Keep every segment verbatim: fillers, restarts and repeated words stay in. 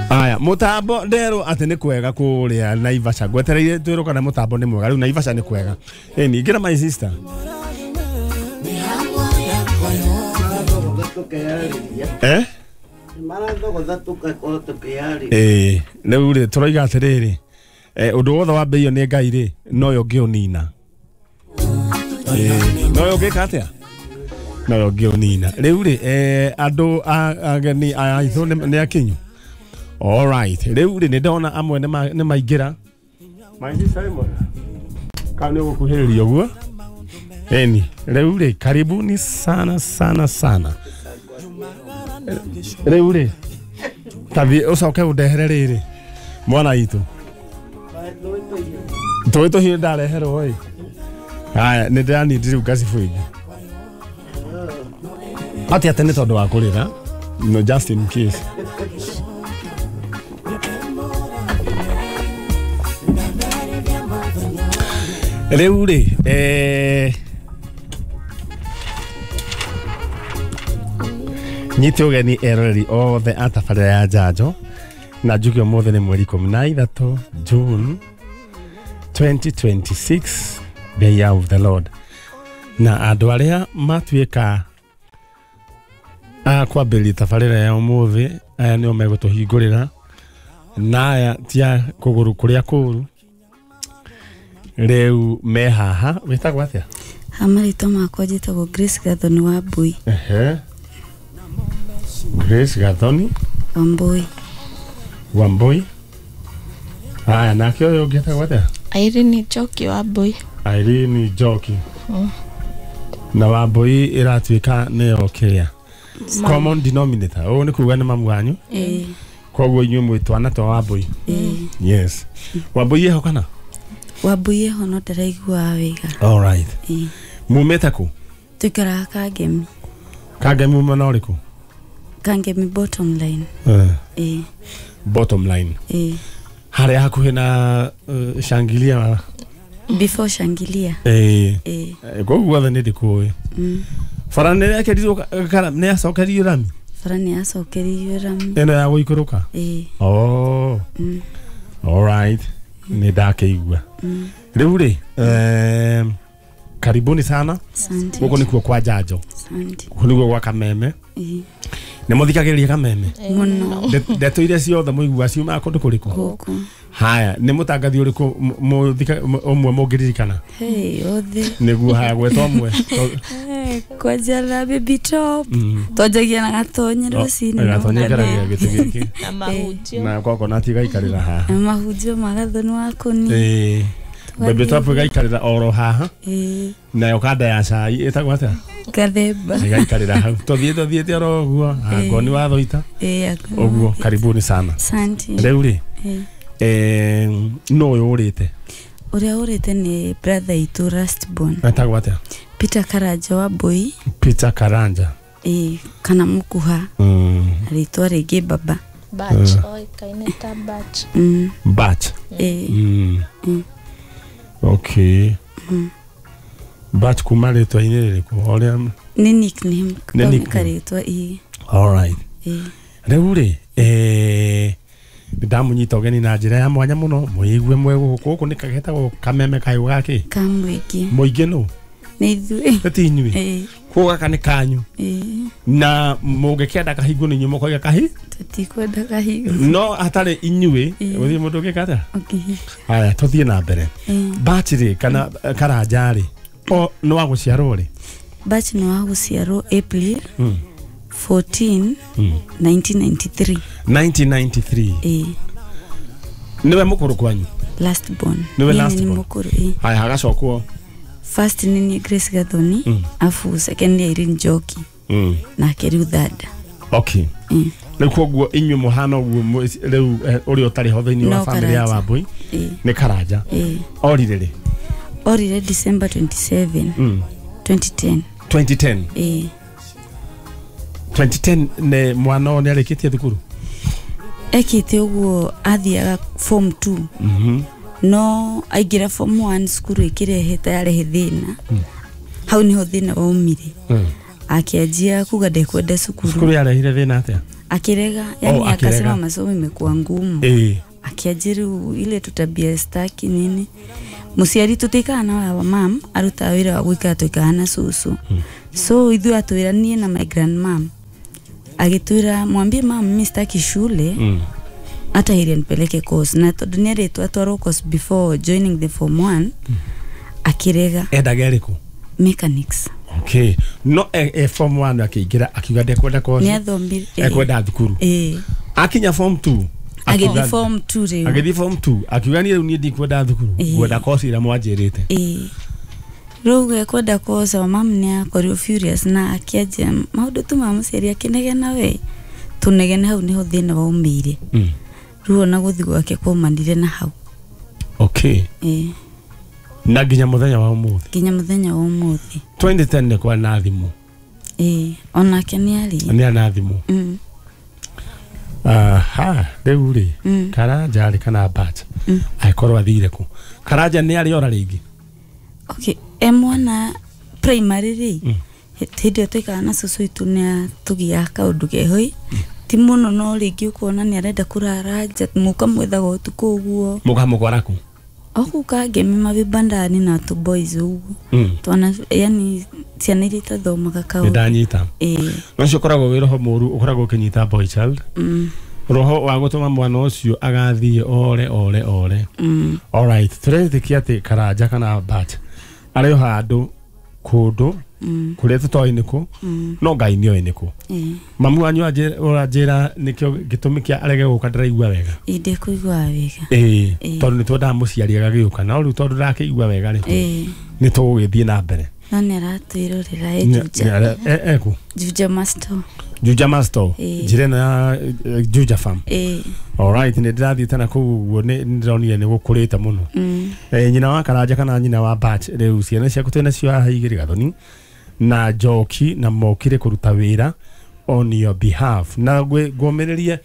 Aya, mutambo nderwo atĩ nĩ kwega kũrĩa Naivasha. Ngwetereire twĩrwo kana mutambo nĩ mwega. Rĩu Naivasha nĩ kwega. Ĩni, ingĩra my sister. Eh? Eh, rĩu rĩ tũroiga atĩrĩrĩ. Eh, ũndũ wothe wambĩirio nĩ Ngai rĩ, noyo ũngĩũnina. Eh, noyo ũngĩka atĩa? Noyo ũngĩũnina. Rĩu rĩ, eh, andũ ageni aya aitũ nĩ akinyu. All right. Rĩu rĩ nĩ ndona amwe nĩ maingĩra. My sister ĩmwe. Kana nĩ ũgũkuhĩrĩria ũguo? Eni, rĩu rĩ karibuni sana sana sana. Rĩu rĩ tathi ũcoke ũndehere rĩrĩ mwana witũ. Tũĩ tũhiũ ndareherwo ĩ. Haya, nĩ ndĩranindi rĩu ngacibũ ĩngĩ. Atĩ atĩ nĩ tondũ wa kũrĩra. No, just in case. Rĩu rĩ eh nyite ũgeni eroreri othe a tabarĩra ya Njanjo na njuge ũmũthĩ nĩ mweri ikũmi na ithatũ June twenty twenty-six, the year of the Lord. Na andũ arĩa matuĩka a kwambĩrĩria tabarĩra ya ũmũthĩ aya nĩo megũtũhingũrĩra na aya ti a kũgũrũ kũrĩa kũũru. Rĩu me haha wĩtagwo atĩa? Ha marĩtwa makwa njĩtagwo Grace Gathoni Wambui. Ehe. Grace Gathoni Wambui. Wambui. Haya, nake ũyũ ũngĩ etagwo atĩa? Irene Njoki Wambui. Irene Njoki. Mm. Na Wambui ĩratuĩka nĩyo kĩrĩa common denominator. Ũũ nĩ kuga nĩ mamu wanyu? Ĩĩ. Koguo inyuĩ mwĩ twana twa Wambui. Ĩĩ. Yes. Wambui ĩho kana? Wambui ĩho no ndĩraiguaga wega. All right. Ĩĩ. Mumĩte kũ? Tũikaraga Kangemi. Kangemi mwena ũrĩkũ? Kangemi bottom line. Eh. Ĩĩ. Bottom line. Ĩĩ. Harĩa hakuhĩ na uh, Shangilia. Before Shangilia. Ĩĩ. Ĩĩ. Koguo guothe nĩ ndĩkũĩ. Mm. Bara nĩ yakerirwo kana nĩ yacokerio rami? Bara nĩ yacokerio rami. Ĩno ya gũikũrũka? Ĩĩ. Oh. Mm. All right. Nĩ ndakĩigua. Mm. Rĩu rĩ, eh, karibuni sana. Asante. Gũkũ nĩkuo kwa Njanjo. Asante. Gũkũ nĩkuo gwa Kameme. Ĩĩ. Nĩ mũthikagĩrĩria Kameme? Mũno. Ndeto iria ciothe mũiguaga ciumaga kũndũ kũrĩkũ? Gũkũ. Haya, nĩ mũtangathi ũrĩkũ ũmwe mũngĩririkana? Hey, othe. Nĩguo haya gweta ũmwe. Kwanja na Baby Top. Twanjagia na Gatonye rũcinĩ. Gatonye aikaragia gĩtĩ gĩkĩ. Na mahunjio. Na kwako gaikarĩra haha. Na mahunjio ma Gathoni wa Kũni. Ĩĩ. Baby Top gaikarĩra oro haha. Ĩĩ. Nayo kanda ya cai ĩtagwo atĩa? Gathemba. Gaikarĩra hau. Tũthiĩte tũthiĩte oro ũguo. Angoni wa Thoita. Ĩĩ. Ũguo karibuni sana. Asante. Rĩu rĩ. Eh, no ũyũ ũrĩte? Ũrĩa ũrĩte nĩ brother itũ last born. Etagwo atĩa? Peter Karanja Wambui. Peter Karanja. Ĩĩ, kana Mũkuha. Mm. Rĩtwa rĩngĩ baba. Batch, oĩkaine ta Batch. Mm. Batch. Ĩĩ. Mm. Mm. Okay. Mm. Batch kuma rĩtwa-inĩ rĩrĩkũ? Ũrĩa nĩ nickname. Nĩ nickname. Karĩtwa ĩĩ. All right. Ĩĩ. Rĩu rĩ, eh ndamunyita ũgeni na njĩra ya mwanya mũno mũigue mwe gũkũ gũkũ nĩ kagetagwo Kameme kayũ gakĩ? Ka mũingĩ. Mũingĩ nũ? Nĩ ithuĩ. Nĩ ti inyuĩ? Ĩĩ. Koguo gaka nĩ kanyu. Ĩĩ. Na mũngĩkĩenda kahingwo nĩ inyuĩ mũkoiga kahi? Tũtikwenda kahingwo. No hatarĩ inyuĩ gũthiĩ mũndũ ũngĩka atĩa? Ũngĩhinga. Haya, tũthiĩ na mbere. Batch rĩ kana Karanja rĩ, o nĩ wa gũciarwo rĩ? Batch nĩ wa gũciarwo April fourteen nineteen ninety-three. nineteen ninety-three. Ĩĩ. Nĩwe mũkũrũ kwanyu? Last born. Nĩwe last born. Nĩ mũkũrũ, ĩĩ. Haya, hagacokwo. First nĩ Grace Gathoni, afu second nĩ Irene Njoki. Mm. Nake rĩu third. Okay. Mm. Rĩu koguo inyuĩ mũhana ũguo rĩu ũrĩa ũtarĩ ho thĩinĩ wa family ya Wambui nĩ Karanja. Ĩĩ. Orire rĩ? Orire December twenty-seven. Mm. twenty ten. twenty ten. Ĩĩ. twenty ten nĩ mwana nĩ arĩkĩtie thukuru? Ekĩte ũguo athiaga form two. Mhm. No aingĩra form one cukuru ĩkĩrehe ta yarehe thĩna. Hau niho thĩna waumire. Mm. Akĩanjia kuga ndekwenda cukuru. Cukuru yarehire thĩna atĩa? Akirega yani Oh, akirega. Akasema masomo imekuwa ngumu. Eh. Akiajiru ile tutabia staki nini. Muciari tutikana na wa mam aruta wira wa gwikara tuikara na cucu. Mm. So ithuĩ atwĩra niĩ na my grandmam. Agĩtwĩra mwambie mam mimi sitaki shule. Mm. Hata heri nipeleke course na tondu nĩerĩtwo atwarwo course before joining the form one. Mm. Akirega. Endaga ĩrĩkũ? Mechanics. Okay. No e, e form one akiingira akiuga ndekwenda course. Nĩathomire. Ekwenda thukuru. Eh. Akinya form two. Agĩthiĩ form two rĩu. Agĩthiĩ form two akiuga niĩ rĩu niĩ ndikwenda thukuru ngwenda course ĩrĩa mwanjĩrĩte. Ĩĩ. Rĩu ekwenda course wa mam nĩakorirwo furious na akĩanjia maũndũ tu ma mũciari akĩnegena we tũnegene hau nĩho thĩna waumĩire. Mm. Rĩu ona gũthiĩ gwake kwaumanire na hau. Okay. Ĩĩ. Na nginya mũthenya wa ũmũthĩ. Nginya mũthenya wa ũmũthĩ. twenty ten nĩ kwa na thimũ. Ĩĩ onake nĩarĩ. Nĩ na thimũ. Mm. Aha, rĩu rĩ mm. Karanja arĩ kana Batch mm. angĩkorwo athire kũ? Karanja nĩ arĩ ora rĩngĩ? Okay, e mwana primary rĩ mm. hĩndĩ ĩyo twaikaraga na cũcũ witũ nĩ atũgiaga kaũndũ keho ti mũno no rĩngĩ ũkona nĩ arenda kũrara nja mũkamwethaga ũtukũ ũguo. Mũkamũkora kũ? O kũu Kangemi mavibandani na tũ boys ũguo mm. Twana yani ciana iria itathomaga kaũndũ. Nĩ ndanyita. Ĩĩ. No ũcio ũkoragwo wĩ roho mũru ũkoragwo ũkĩnyita boy child. Mm. Roho wa gũtũma mwana ũcio agathiĩ ore ore ore. Mm. Alright, tũretĩkia atĩ Karanja kana Batch arĩ o handũ kũndũ mm. kũrĩa tũtoĩ nĩkũ mm. no Ngai nĩoĩ nĩkũ. Ĩĩ. Mamu wanyu ũranjĩra nĩkĩo gĩtũmi kĩa arege gũka ndĩraigua wega. Ĩĩ ndĩkũigua wega. Ĩĩ tondũ nĩtwendaga mũciari agagĩũka no rĩu tondũ ndakĩigua wega rĩ Ĩĩ nĩ tũgũgĩthiĩ na mbere. No nĩ aratwĩrorera e Juja. Ekũ? Juja Masto. Juja Masto. Njĩra ĩno ya Juja Farm. Ĩĩ. Alright, nĩ ndĩrathiĩte na kũu ũguo nĩ ndĩronire nĩ gũkũrĩte mũno. Mm. Eh, nyina wa Karanja kana nyina wa Batch rĩu ciana ciaku twĩ nacio haha igĩrĩ Gathoni na Njoki na mokire kũruta wĩra on your behalf na ngũmĩrĩrie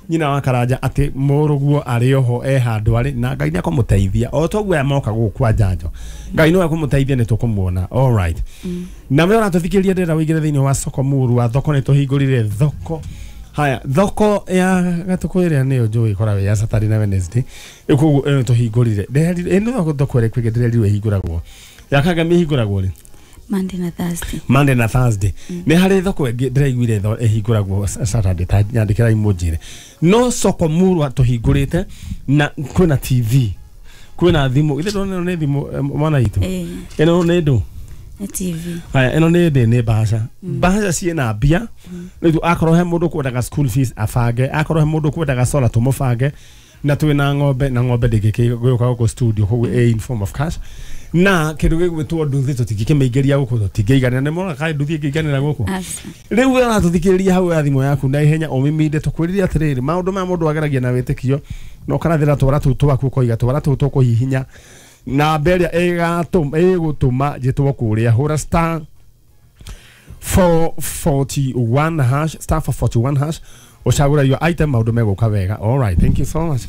nyina wa Karanja atĩ mũrũguo arĩ oho e handũ arĩ na Ngai nĩ akũmũteithia o toguo aya moka gũkũ kwa njanjo Ngai no akũmũteithia nĩ tũkũmuona. Alright. Mm. Na we ũratũthikĩrĩria ndĩrenda wĩingĩre thĩinĩ wa soko mũru wa thoko nĩ tũhingũrire thoko. Haya, thoko ya Gatukũ ĩrĩa nĩyo njũĩ ĩkoragwo ya Saturday na Wednesday koguo ĩno tũhingũrire ĩno thoko thoko ĩrĩa kwĩngĩ ndĩrerirwo ĩhingũragwo ya Kangemi ĩhingũragwo rĩ? Monday na Thursday. Monday na Thursday. Mm. Nĩ harĩ thoko ĩngĩ ndĩraiguire ĩhingũragwo Saturday ta nyandĩkĩrai mũnjĩre. No soko murwa tũhingũrĩte na kwĩna T V kwĩna thimũ ithe ndona ĩno nĩ thimũ mwana witũ. Ĩno nĩ ndũ? Nĩ T V. Haya ĩno nĩ ndĩ nĩ bahasha. Bahasha ciĩna mbia rĩu akorwo he mũndũ kwendaga school fees abange akorwo he mũndũ kwendaga solar tũmũbange na twĩna ng'ombe na ng'ombe ndĩngĩgũka gũkũ studio koguo ĩ in form of cash na kĩndũ gĩgwĩtwo nduthi tũtingĩkĩmĩingĩria gũkũ tũtingĩiganĩra nĩ mona kaĩ nduthi ĩngĩiganĩra gũkũ. Rĩu we ũratũthikĩrĩria hau ya thimũ yaku na ihenya ũmiminde tũkwĩrire atĩrĩrĩ maũndũ maya mũndũ ageragia na wĩtĩkio na ũkarathĩra twara tũu twaku ũkoiga twara tũu tũkũhihinya namba ĩrĩa ĩgũtũma njĩtwo kũrĩa hũra star four forty-one hash star four forty-one hash ũcagũra your item maũndũ megũka wega. Alright, thank you so much.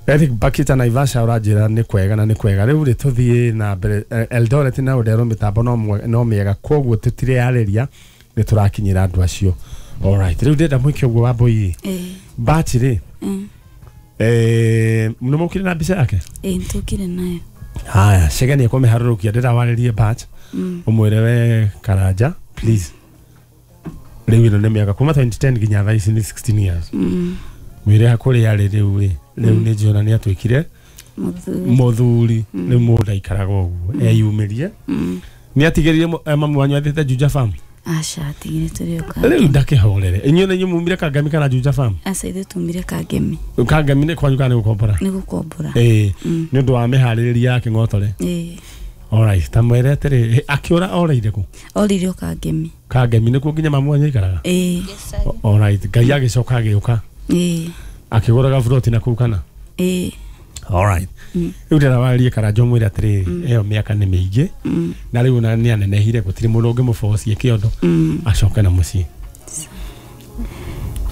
Eric Bakita Naivasha ũranjĩra nĩ kwega na nĩ kwega rĩu rĩ tũthiĩ na mbere Eldoret na Ũndero mĩtambo no mĩega koguo tũtireyarĩria nĩ tũrakinyĩra andũ acio. Alright, rĩu ndĩrenda mwĩke ũguo Wambũi Batch rĩ eh nĩ mũkire na mbica yake? Ĩĩ nĩtũkire nayo. Haya Chege nĩ ekũmĩharũrũkia ndĩrawarĩrie Batch ũmwĩre we Karanja please rĩu ĩno nĩ mĩaka kuma twenty ten nginya thaa ici nĩ sixteen years. Mwĩre kũrĩa arĩ rĩu rĩ rĩu nĩ njũĩ ona nĩ atuĩkire mũthuri rĩu mũndũ aikaraga ũguo eyumĩrie nĩ atigĩrire mamu wanyu athiĩte Juja Farm? Aca atigire tũrĩ o Kangemi. Rĩu ndakĩhorere inyuĩ nĩ inyuĩ mumire Kangemi kana Juja Farm? Aca ithuĩ tumire Kangemi. Kangemi nĩ kwanyu kana nĩ gũkombora? Nĩ gũkombora. Ĩĩ nĩ ũndũ wa mĩharĩrĩria ya kĩng'otore. Ĩĩ. Alright, ta mwĩre atĩrĩ akĩũra orĩire kũ? Orĩire o Kangemi. Kangemi nĩkuo nginya mamu wanyu aikaraga? Ĩĩ. Alright, Ngai agĩcoka agĩũka. Ĩĩ. Akĩgũra gaburoti na kũu kana? Ĩĩ. Alright. Rĩu ndĩrawarĩrie Karanja ũmwĩre atĩrĩrĩ ĩyo mĩaka nĩ mĩingĩ na rĩu ona nĩ anenehire gũtirĩ mũndũ ũngĩmũbocie kĩondo acoke na mũciĩ.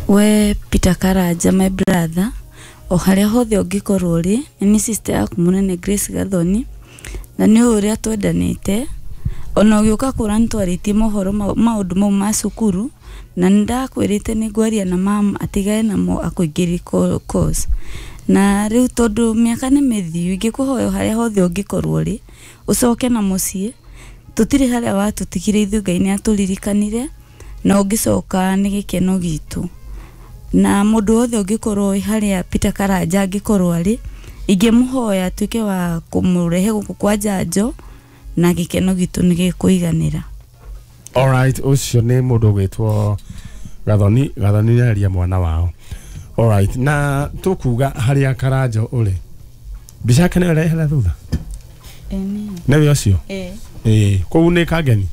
We Peter Karanja my brother o harĩa hothe ũngĩkorwo ũrĩ nĩ niĩ sister yaku mũnene Grace Gathoni na nĩ ũrĩa twendanĩte ona ũgĩũka kũra nĩtwarĩtie mohoro maũndũ mau ma cukuru Na ndakwĩrĩte nĩ ngwaria na mam atigane namo akũingĩrie course. Na rĩu tondũ mĩaka nĩ mĩthiu ingĩkũhoya harĩa hothe ũngĩkorwo rĩ ũcoke na mũciĩ tũtirĩ harĩa watũtigire ithuĩ Ngai nĩ atũririkanire na ũngĩcoka nĩ gĩkeno gitũ. Na mũndũ wothe ũngĩkorwo wĩ harĩa Peter Karanja angĩkorwo arĩ ingĩmũhoya atuĩke wa kũmũrehe gũkũ kwa Njanjo na gĩkeno gitũ nĩ gĩkũiganĩra. Alright, ũcio nĩ mũndũ ũgwĩtwo Gathoni. Gathoni nĩ aria mwana wao. Alright, na tũkuga harĩa Karanjo ũrĩ mbica yake nĩyo ĩrehera thutha nĩwe ũcio ĩĩ kũu nĩ Kangeni.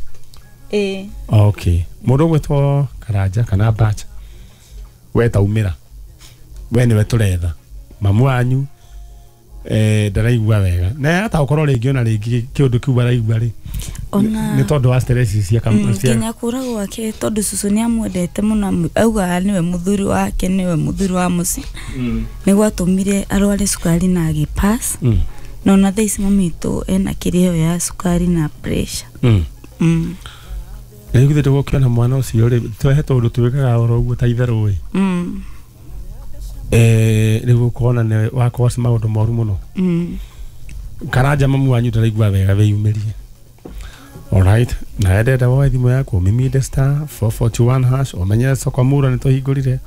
Ĩĩ. Okay, mũndũ ũgwĩtwo Karanja kana Bacha we taumĩra we nĩwe tũretha mamu wanyu eh ndaraigua wega na hata ũkorwo rĩngĩ ona rĩngĩ kĩũndũ kĩu araigua rĩ ona nĩ tondũ wa stress cia cia nginya kũra gwake tondũ cũcũ nĩ amwendete mũno augaga nĩwe mũthuri wake nĩwe mũthuri wa mũciĩ nĩ gwatũmire arware cukari na agĩpass na ona thaa ici mami witũ ena kĩrĩo ya cukari na pressure. Mm. Rĩu githĩ ndũgũkĩona mwana ũcio rĩ twehe tondũ twĩkaga oro ũguo ta itherũ ĩ Mm. eh rĩu ũkona nĩ wakorwo ci maũndũ moru mũno. Mm. Karanja mamu wanyu ndaraigua wega wĩyumĩrie. Alright, na ndenda woe thimũ yaku ũmiminde star four forty one hash ũmenye soko mura nĩ tũhingũrire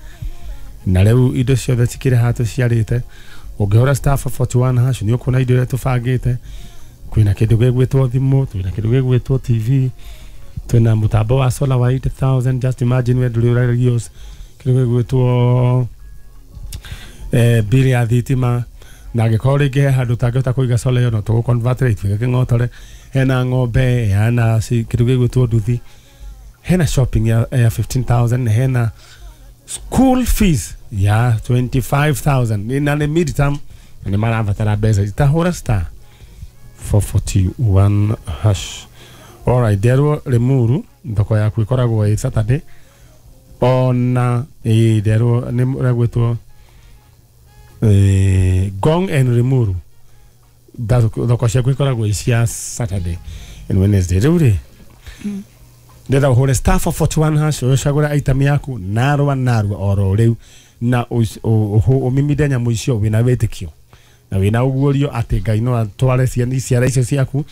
na rĩu indo ciothe cikĩrĩ haha tũciarĩte. Ũngĩhũra star four forty one hash nĩ ũkuona indo iria tũbangĩte. Kwĩna kĩndũ gĩgwĩtwo thimũ, twĩna kĩndũ gĩgwĩtwo T V, twĩna mũtambo wa solar wa eight thousand. Just imagine we ndũrĩ ũragios kĩndũ gĩgwĩtwo eh bili ya thitima na angĩkorwo rĩngĩ he handũ ũtangĩhota kũiga solar ĩyo no tũgũ convert ĩtuĩke kĩng'otore. Hena ng'ombe, hena kĩndũ gĩgwĩtwo nduthi, hena shopping ya, ya fifteen thousand, hena school fees ya twenty five thousand na nĩ mid term na nĩ marabatara mbeca. Itahũra star four forty one hash. Alright, nderwo Limuru thoko yaku ĩkoragwo ĩ Saturday ona ĩ nderwo nĩ ũrĩa eh Gong and Limuru thoko ciaku ikoragwo cia Saturday and Wednesday. Rĩu rĩ ndĩrenda ũhũre star four forty one hash ũcagũre item yaku narua narua oro rĩu na ũmiminde nyamũ icio wĩna wĩtĩkio na wĩna ũguũrio atĩ Ngai no atware ciana ciara icio ciaku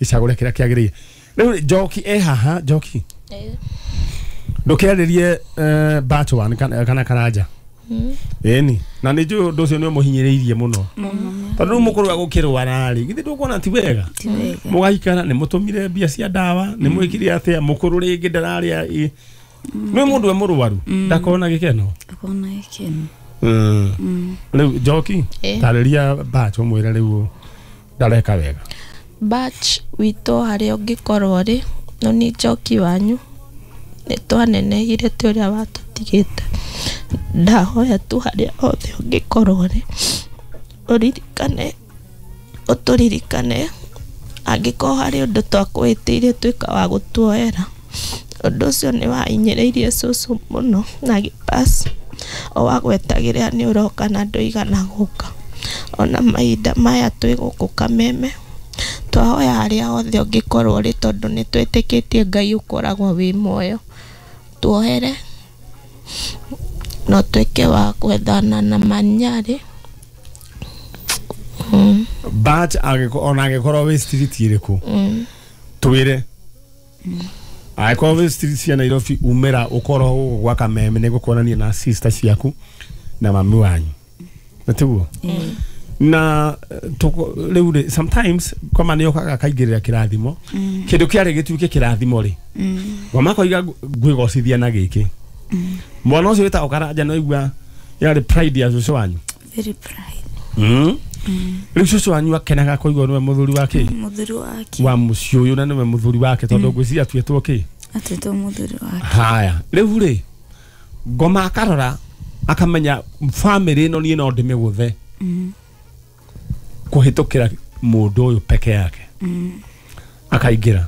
icagũre kĩrĩa kĩagĩrĩire. Rĩu Njoki e haha. Njoki ndũkĩarĩrie batch one kana Karanja ĩni na nĩ njũĩ ũndũ ũcio nĩ ũmũhinyĩrĩirie mũno tondũ rĩu mũkũrũ agũkĩrwara rĩ githĩ ndũkuona ti wega mũgaikara nĩ mũtũmire mbia cia ndawa nĩ mwĩkire atĩa mũkũrũ rĩngĩ ndararĩa nĩ mũndũ we mũrwaru ndakona gĩkeno akona gĩkeno. Rĩu Njoki tarĩria Batch ũmwĩre rĩu ndareka wega. Batch witũ harĩa ũngĩkorwo rĩ no nĩ Njoki wanyu nĩ twanenehire tĩ ũrĩa watũtigĩte. Ndahoya tu harĩa hothe ũngĩkorwo rĩ ũririkane ũtũririkane angĩkorwo harĩ ũndũ twakwĩhĩtĩire tuĩka wa gũtuoera. Ũndũ ũcio nĩ wahinyĩrĩirie cũcũ mũno na agĩpass o wagwetagĩrĩra nĩ ũroka na ndũigana gũka. Ona mahinda maya twĩ gũkũ Kameme twahoya harĩa hothe ũngĩkorwo rĩ tondũ nĩ twĩtĩkĩtie Ngai ũkoragwo wĩ muoyo tuohere no tuĩke wa gwethana na manyarĩ. Batch ona angĩkorwo wĩ street ĩrĩkũ twĩre angĩkorwo wĩ street cia Nairobi umĩra ũkorwo gũkũ gwa Kameme nĩ gũkuonania na sister ciaku na mami wanyu na tiguo na rĩu rĩ sometimes koma nĩ ũkaga kaingĩrĩra kĩrathimo kĩndũ kĩarĩ gĩtuĩke kĩrathimo rĩ ngoma koiga ngwĩgocithia na gĩkĩ mwana ũcio wĩtagwo Karanja no igua yarĩ pride ya cũcũ wanyu. Very pride. Mm. Rĩu cũcũ wanyu akenaga kũigua nĩwe mũthuri wake mũthuri wake wa mũciĩ ũyũ na nĩwe mũthuri wake tondũ ngwĩciria atuĩtwo kĩ atuĩtwo mũthuri wake. Haya rĩu rĩ ngoma akarora akamenya family ĩno niĩ no ndĩmĩgũthe kũhĩtũkĩra mũndũ ũyũ peke yake. Akaingĩra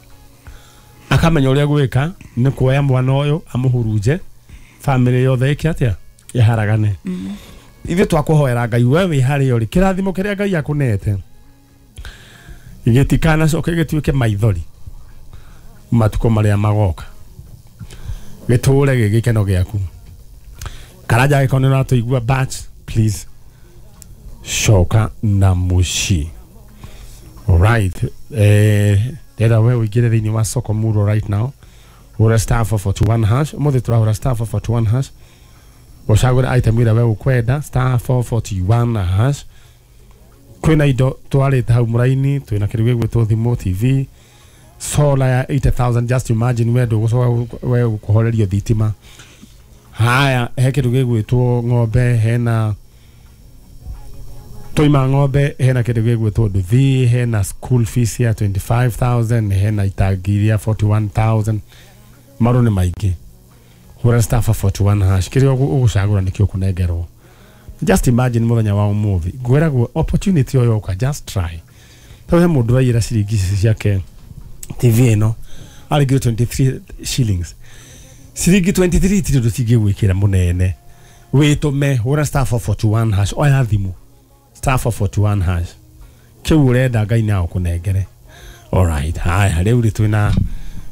akamenya ũrĩa gwĩka nĩ kuoya mwana ũyũ amũhurunje family yothe ĩke atĩa ĩharagane. Ithuĩ twakũhoera Ngai we wĩ harĩa ũrĩ kĩrathimo kĩrĩa Ngai akũnete gĩtikanacoke gĩtuĩke maithori matukũ marĩa magoka. Gĩtũre gĩ gĩkeno gĩaku. Karanja gĩkorwo nĩ ũratũigua, but please coka na mũciĩ. Alright, eh ndĩrenda we ũingĩre thĩinĩ wa soko muro right now. Hũra star four forty-one hash. Ũmũthĩ tũrahũra star four forty-one hash. Ũcagũre item ĩrĩa we ũkwenda, star four forty-one hash. Kwĩna indo twarĩte hau mũraini, twĩna kĩndũ gĩgwĩtwo thimũ, T V, solar ya eighty thousand. Just imagine we ndũgũcoka we kũhorerio thitima. Haya, he kĩndũ gĩgwĩtwo ng'ombe, hena toima ng'ombe, hena kĩndũ gĩgwĩtwo nduthi, hena school fees ya twenty-five thousand, hena itangi rĩa forty-one thousand. Maũndũ nĩ maingĩ. Hũra star four forty-one hash. Kĩrĩa ũgũcagũra nĩkĩo ũkũnengerwo. Just imagine mũthenya wa ũmũthĩ ngwĩragwo opportunity ĩyo yoka, just try. Tondũ he mũndũ waiyĩra ciringi ici ciake T V ĩno arĩngire twenty-three shillings. Ciringi twenty-three ti ũndũ cingĩgwĩkĩra mũnene. Wĩtũme hũra star four forty-one hash, oya thimũ star four forty-one hash. Kĩu ũrenda Ngai nĩ agũkũnengere. Alright, haya rĩu rĩ twĩna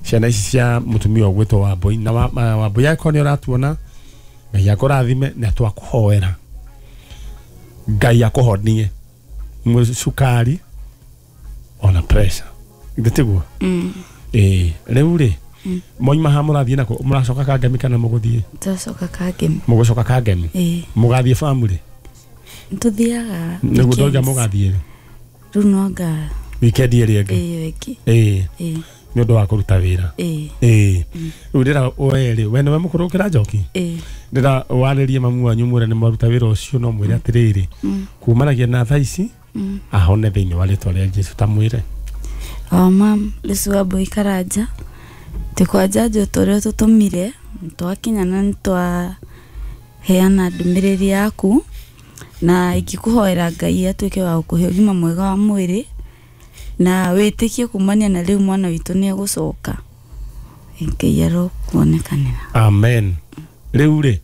ciana ici cia mũtumia ũgwĩtwo Wambũi na Wambũi angĩkorwo nĩ ũratuona Ngai akũrathime na twakũhoera Ngai akũhonie cukari ona pressure. Githĩ tiguo? Mm. Ĩĩ, rĩu rĩ moima haha mũrathiĩ nako mũracoka Kangemi kana mũgũthiĩ? Tũracoka Kangemi. Mũgũcoka Kangemi? Ĩĩ. Mũgathiĩ family? Tũthiaga Nĩguo ndoiga mũgathiĩ. Rĩu no anga weekend ĩrĩa ĩngĩ. Ĩyo ĩngĩ. Ĩĩ. Ĩĩ. Nĩ ũndũ wa kũruta wĩra. Ĩĩ. Ĩĩ. Rĩu ndĩra we rĩ, we nĩwe mũkũrũ gũkĩra Njoki? Ĩĩ. Ndĩra warĩrie mamu wanyu mwĩre nĩ mwaruta wĩra ũcio, no mwĩre atĩrĩrĩ kumanagia na thaa ici ahone thĩinĩ wa rĩtwa rĩa Jesũ, ta mwĩre. O mam, Lucy Wambũi Karanja twĩ njanjo tũrĩa tũtũmire twakinya na nĩtwaheana ndũmĩrĩri yaku na ingĩkũhoera Ngai atuĩke wa gũkũhe ũgima mwega wa mwĩrĩ na wĩtĩkie kumania na rĩu mwana witũ nĩ egũcoka. Ngai arokuonekanĩra. Amen. Rĩu rĩ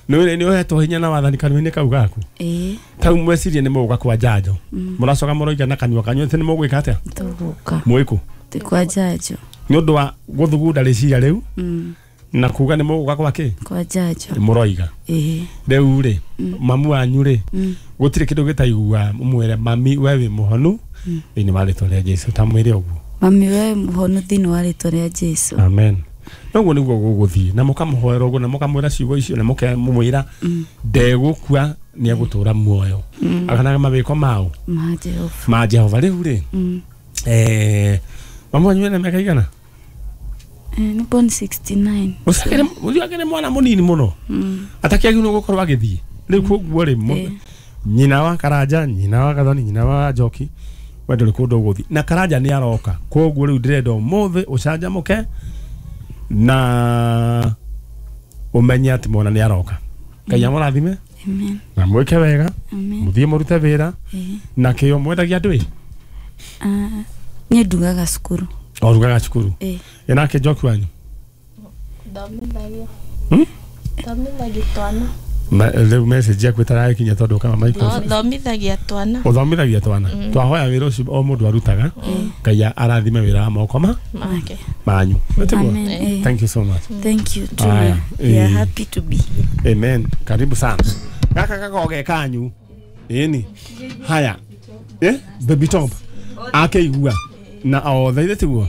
nĩ nĩ ũhetwo hinya na wathani kanua-inĩ kau gaku? Ĩĩ. Tau mwecirie nĩ mũgũka kwa njanjo. Mũracoka mũroiga na kanua kanyu atĩ nĩ mũgwĩka atĩa? Tũgũka. Mwĩkũ? Twĩ kwa njanjo. Nĩ ũndũ wa gũthugunda rĩciria rĩu na kuga nĩ mũgũka kwa kĩ? Kwa njanjo. Mũroiga. Ĩĩ. Rĩu rĩ mamu wanyu rĩ gũtirĩ kĩndũ gĩtaigua mũmwĩre mami we wĩ mũhonu thĩinĩ wa rĩtwa rĩa Jesũ, ta mwĩre ũguo. Mami we mũhonu thĩinĩ wa rĩtwa rĩa Jesũ. Amen. Noguo nĩguo gũgũthiĩ na mũkamũhoera ũguo na mũkamwĩra ciugo icio na mũkamwĩra ndegũkua nĩ egũtũra muoyo. Aganaga mawĩko mao ma Jehova. Ma Jehova. Rĩu rĩ eh mamu wanyu ena mĩaka igana? Eh nĩ born sixty-nine. Ũcio akĩrĩ mwana mũnini mũno. Atakĩagĩrĩirwo gũkorwo agĩthiĩ. Rĩu koguo rĩ nyina wa Karanja, nyina wa Gathoni, nyina wa Njoki we ndũrĩ kũndũ ũgũthiĩ na Karanja nĩ aroka. Koguo rĩu ndĩrenda ũmũthĩ ũcanjamũke na ũmenye atĩ mwana nĩ aroka. Ngai amũrathime. Amen. Na mwĩke wega. Amen. Mũthiĩ mũrute wĩra. Na kĩo mwendagia andũ ĩ? Ah, niĩ ndugaga cukuru. O rugaga cukuru? Ĩĩ. Ĩ nake Njoki wanyu? Thomithagia. Hmm? Thomithagia twana. Ma rĩu message yaku ĩtarakinya tondũ kama microphone. No, thomithagia twana. Ũthomithagia twana. Twahoya wĩra ũcio o mũndũ arutaga. Ngai arathime wĩra wa moko ma make manyu. Amen. Thank you so much. Thank you too. Aya, We are eh. happy to be here. Amen. Karibu sana. Gaka kagoge kanyu. Ĩni. Haya. Eh? Baby top. Akeigua. Na othe ithe tiguo.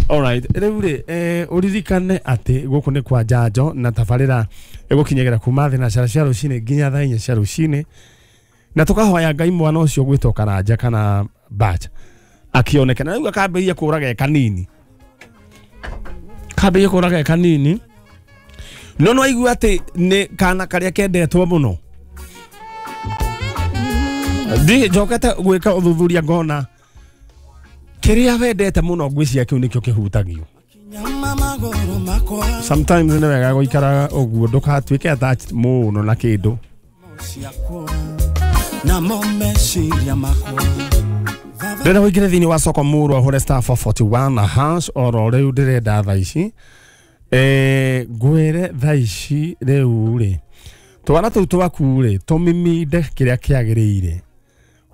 Alright, rĩu rĩ eh ũririkane atĩ gũkũ nĩ kwa njanjo na tabarĩra ĩgũkinyagĩra kuma thĩ na cara cia rũcinĩ nginya thaa inya cia rũcinĩ na tũkahoya Ngai mwana ũcio gwĩtwo Karanja kana Batch akĩoneke na rĩu akambĩrĩria kũraga e kanini, kambĩrĩria kũraga e kanini no no aigua atĩ nĩ kana karĩa kendetwo mũno. Ndi njokete gwĩka ũthuthuria ngona kĩrĩa wendete mũno ngwĩciria kĩu nĩkĩo kĩhutagio. Sometimes nĩ wega gũikara ũguo ndũgatuĩke attached mũno na kĩndũ. Ndĩrenda ũingĩre thĩinĩ wa soko mũrũ ahũre star four forty-one hash oro rĩu ndĩrenda thaa ici. Eh ngwĩre thaa ici rĩu rĩ twana tũu twaku rĩ tũmiminde kĩrĩa kĩagĩrĩire.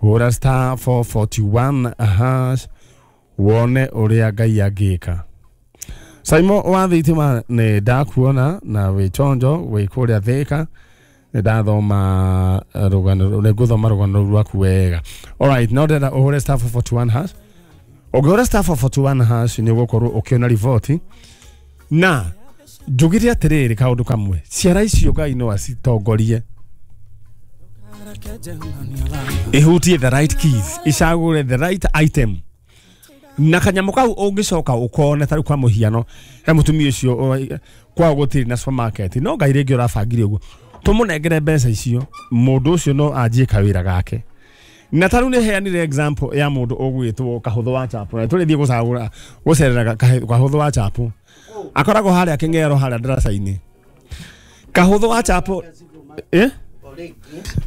Hũra star four forty-one hash wone ũrĩa Ngai angĩka. Saimo wa thitima nĩ ndakuona na wĩ chonjo wĩ kũrĩa Thĩka nĩ ndathoma rũgano nĩ ngũthoma rũgano rũu rwaku wega. Alright, no ndĩrenda ũhũre star four four one hash. Ũngĩhũra star four four one hash nĩ ũgũkorwo ũkĩona riboti na njugire atĩrĩrĩ kaũndũ kamwe ciara icio Ngai no acitongorie ihutie the right keys icagũre the right item na kanyamũ kau ũngĩcoka ũkone tarĩu kwa mũhiano he mũtumia ũcio kwao gũtirĩ na supermarket no Ngai rĩngĩ ũrabangire ũguo tũmũnengere mbeca icio mũndũ ũcio no anjie kawĩra gake na tarĩu nĩ heanire example ya mũndũ ũgwĩtwo Kahũthũ wa Chapo na tũrĩthiĩ gũcagũra gũcerera Kahũthũ wa Chapo akoragwo harĩa Kĩng'ero harĩa ndaraca-inĩ Kahũthũ wa Chapo eh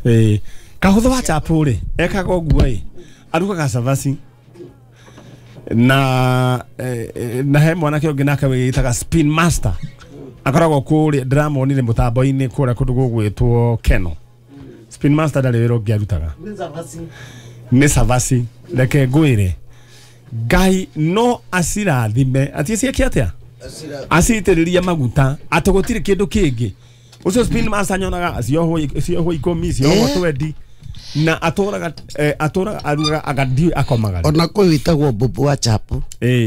eh Kahũthũ wa Chapo rĩ ekaga ũguo ĩ arugaga cabaci na eh, na he mwanake ũngĩ nake wĩtaga Spin Master akoragwo kũrĩa ndĩramonire mũtambo-inĩ kũrĩa kũndũ gũgwĩtwo Keno. Spin Master ndarĩ wĩra ũngĩ arutaga nĩ cabaci reke ngwĩre Ngai no acirathime atĩ ciĩke atĩa acitĩrĩrie maguta atĩ gũtirĩ kĩndũ kĩngĩ ũcio Spin Master nyonaga ciohwo ciohwo ikũmi ciohwo twendi na atũraga atũraga arugaga agathiĩ akomaga ona kũu wĩtagwo Bobo wa Chapo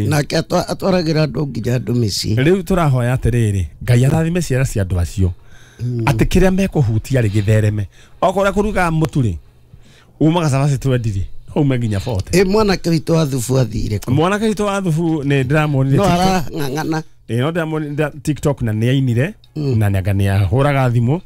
nake atwaragĩra andũ nginya andũ mĩciĩ. Rĩu tũrahoya atĩrĩrĩ Ngai arathime ciana cia andũ acio atĩ kĩrĩa mekũhutia rĩ gĩthereme okorwo kũrugaga mũtu rĩ umaga cabaci twendi rĩ ume nginya forty. Ĩ mwanake witũ wa thubu athire kũ? Mwanake witũ wa thubu nĩ ndĩramuonire no arang'ang'ana ĩ no ndĩramuonire TikTok na nĩ ainire na nĩ nĩ thimũ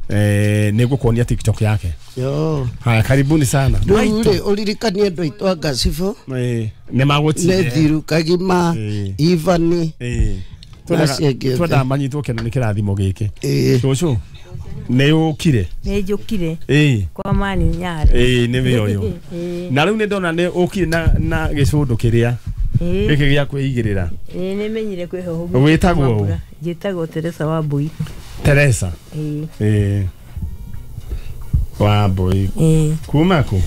eh nĩ ngũkuonia TikTok yake. Yo. Haya karibuni sana. Rĩu rĩ ũririkanie andũ aitũ a Ngacibũ eh nĩ magũtire nĩ Thiru Kagima Ivani eh twenda manyitwo kĩno nĩ kĩrathimo gĩkĩ. Cũcũ nĩ ũkire? Nĩ njũkire. Ĩĩ kwa mani nyarĩ. Ĩĩ nĩ we ũyũ. Na rĩu nĩ ndona nĩ ũkire na na gĩcũndũ kĩrĩa gĩkĩ gĩa kwĩigĩrĩra. Ĩĩ nĩ menyire kwĩhoho. Wĩtagwo ũ? Njĩtagwo Teresa wa Mbui. Teresa? Ĩĩ. Ĩĩ wa Mbui. Ĩĩ. Kuma kũ?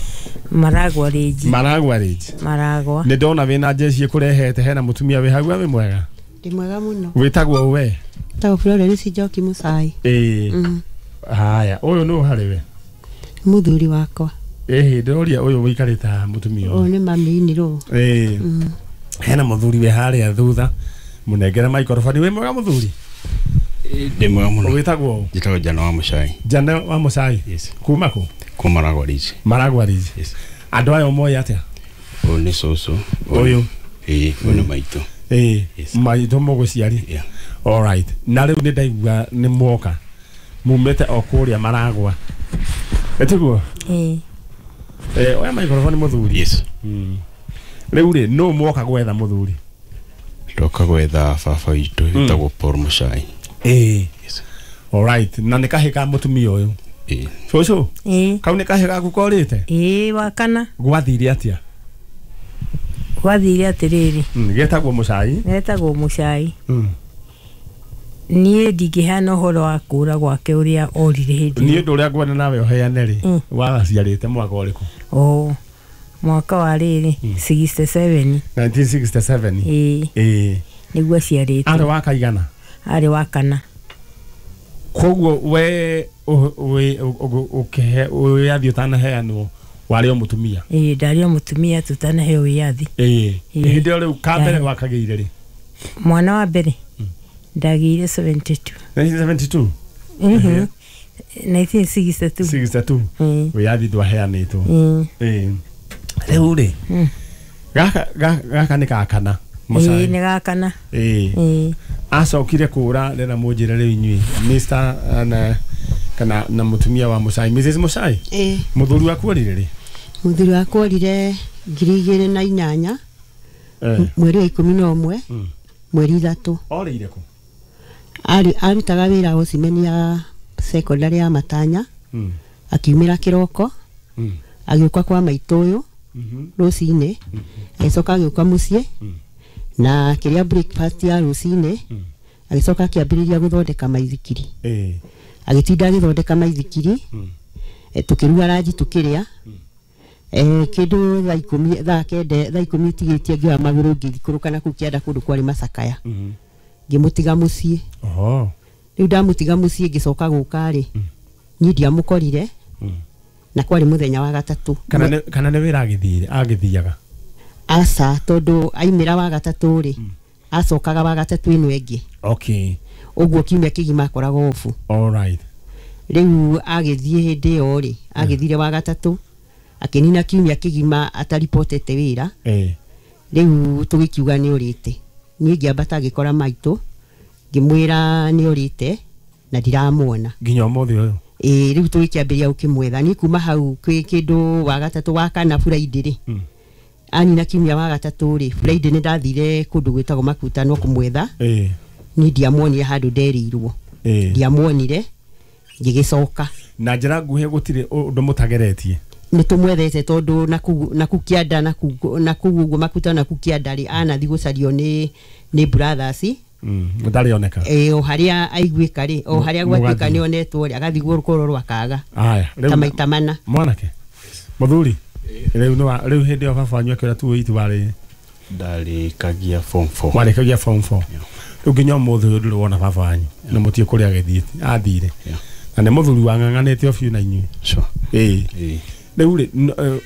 Maragwa Ridge. Maragwa Ridge. Maragwa. Nĩ ndona wĩna njeci ĩkũrehete hena mũtumia wĩ hau wĩ mwega? Ndĩ mwega mũno. Wĩtagwo we? Njĩtagwo Florence Njoki Mũcai. Ĩĩ. Haya, ũyũ nũ harĩ we? Mũthuri wakwa. Ĩhĩ ndĩroria ũyũ wĩikarĩte haha mũtumia ũyũ. Ũyũ nĩ mami nĩrũ. Ĩĩ. Hena mũthuri wĩ harĩa thutha mũnengere microphone. Wĩ mwega mũthuri? Ndĩ mwega mũno. Wĩtagwo ũ? Njĩtagwo Jana wa Mũcai. Jana wa Mũcai? Yes. Kuma kũ? Kuma Maragwa Ridge. Maragwa Ridge. Yes. Andũ aya ũmoĩ atĩa? Ũyũ nĩ cũcũ. Ũyũ? Ĩĩ, ũyũ nĩ maitũ. Ĩĩ, maitũ mũgũciari. Yeah. All right. Na rĩu nĩ ndaigua nĩ mwoka mumĩte o kũrĩa Maragwa. Ĩtiguo? Ĩĩ. Eh, oya microphone mũthuri. Yes. Mm. Rĩu rĩ nũ mwoka gwetha mũthuri? Ndoka gwetha baba witũ wĩtagwo Paul Mũcai. Ĩĩ. Yes. All right. Na nĩ kahĩ ka mũtumia ũyũ? Ĩĩ. Cũcũ? Ĩĩ. Kau nĩ kahĩ gaku korĩte? Ĩĩ, wa kana. Gwathire atĩa? Gwathire atĩrĩrĩ. Mm, getagwo Mũcai? Getagwo Mũcai. Mm. Niĩ ndingĩheana ũhoro wa kũra gwake ũrĩa orire hĩndĩ. Niĩ ũndũ ũrĩa ngwenda nawe ũheane rĩ, waciarĩte mwaka ũrĩkũ? Oh, mwaka wa rĩrĩ sixty-seven. nineteen sixty-seven. Ĩĩ. Ĩĩ. Nĩguo aciarĩtwo. Arĩ wa kaigana? Arĩ wa kana. Koguo we ũkĩhe wĩyathi ũtanaheanwo warĩ o mũtumia? Ĩĩ, ndarĩ o mũtumia tũtanaheo wĩyathi. Ĩĩ. Hĩndĩ ĩyo rĩu ka mbere wakagĩire rĩ? Mwana wa mbere ndagĩire seventy-two. nineteen seventy-two? Mhm. nineteen sixty-two. sixty-two. Wĩyathi ndwaheanĩtwo. Ĩĩ. Rĩu rĩ gaka gaka nĩ ga kana? Ĩĩ, nĩ ga kana. Ĩĩ. Acokire kũra rĩra mũnjĩre rĩu inyuĩ Mister na kana na mũtumia wa Mũcai, Missus Mũcai. Ĩĩ. Mũthuri waku orire rĩ? Mũthuri wakwa orire ngiri igĩrĩ na inyanya mweri wa ikũmi na ũmwe mweri ithatũ. Orĩire kũ? Arĩ arutaga wĩra Ocimeni ya secondary ya Matanya. Akiumĩra kĩroko agĩũka kwa maitũ ũyũ rũcinĩ agĩcoka agĩũka mũciĩ na akĩrĩa breakfast ya rũcinĩ agĩcoka akĩambĩrĩria gũthondeka maithikiri. Ĩĩ. Agĩtinda agĩthondeka maithikiri tũkĩruga ranji tũkĩrĩa eh kĩndũ thaa ikũmi thaa kenda thaa ikũmi itigĩtie ngĩoya magũrũ ngĩikũrũka na kũu kĩanda kũndũ kwarĩ macakaya. Ngĩmũtiga mũciĩ. Oho. Rĩu ndamũtiga mũciĩ ngĩcoka gũka rĩ, niĩ ndiamũkorire na kwarĩ mũthenya wa gatatũ. Kana nĩ kana nĩ wĩra agĩthire agĩthiaga? Aca, tondũ aimĩra wa gatatũ rĩ, acokaga wa gatatũ ĩno ĩngĩ. Okay. Ũguo kiumia kĩgima akoragwo obu. All right. Rĩu agĩthiĩ hĩndĩ ĩyo rĩ, agĩthire wa gatatũ akĩnina kiumia kĩgima ataripotete wĩra. Eh. Rĩu tũgĩkiuga nĩ ũrĩte. Niĩ ngĩambata ngĩkora maitũ, ngĩmwĩra nĩ ũrĩte na ndiramuona nginya ũmũthĩ ũyũ. Ĩĩ, rĩu tũgĩkĩambĩrĩria gũkĩmwetha. Niĩ kuma hau kwĩ kĩndũ wa gatatũ wa kana Friday rĩ, Mm. anina kiumia wa gatatũ rĩ, Friday nĩ ndathire kũndũ gwĩtagwo Makutano kũmwetha. Ĩĩ. Niĩ ndiamuonire handũ nderĩirwo. Ĩĩ. Ndiamuonire, ngĩgĩcoka. Na njĩra nguhĩ gũtirĩ ũndũ mũtageretie? Nĩ tũmwethete tondũ naku naku kĩanda naku naku ũguo Makutano naku kĩanda rĩ, anathi gũcario nĩ nĩ brothers. Mm. Ndarĩ oneka. Ĩĩ, o harĩa aiguĩka rĩ, o harĩa gwatuĩka Mũgathiĩ. nĩ onetwo rĩ, agathiĩ kũrorwo akaga. Aya, rĩu Ta maita mana. Mwanake mũthuri, rĩu nĩ wa rĩu hĩndĩ ĩyo baba wanyu akĩũra tu itu warĩ Ndarĩkagia form four. Warĩkagia form four. Rĩu nginya ũmũthĩ ũyũ ndũrĩ wona baba wanyu na mũtiĩ kũrĩa agĩthiĩte athire Yeah. na nĩ mũthuri wang'ang'anĩte o biũ na inyuĩ. Sure. Ĩĩ. Ĩĩ. Rĩu rĩ n- eh,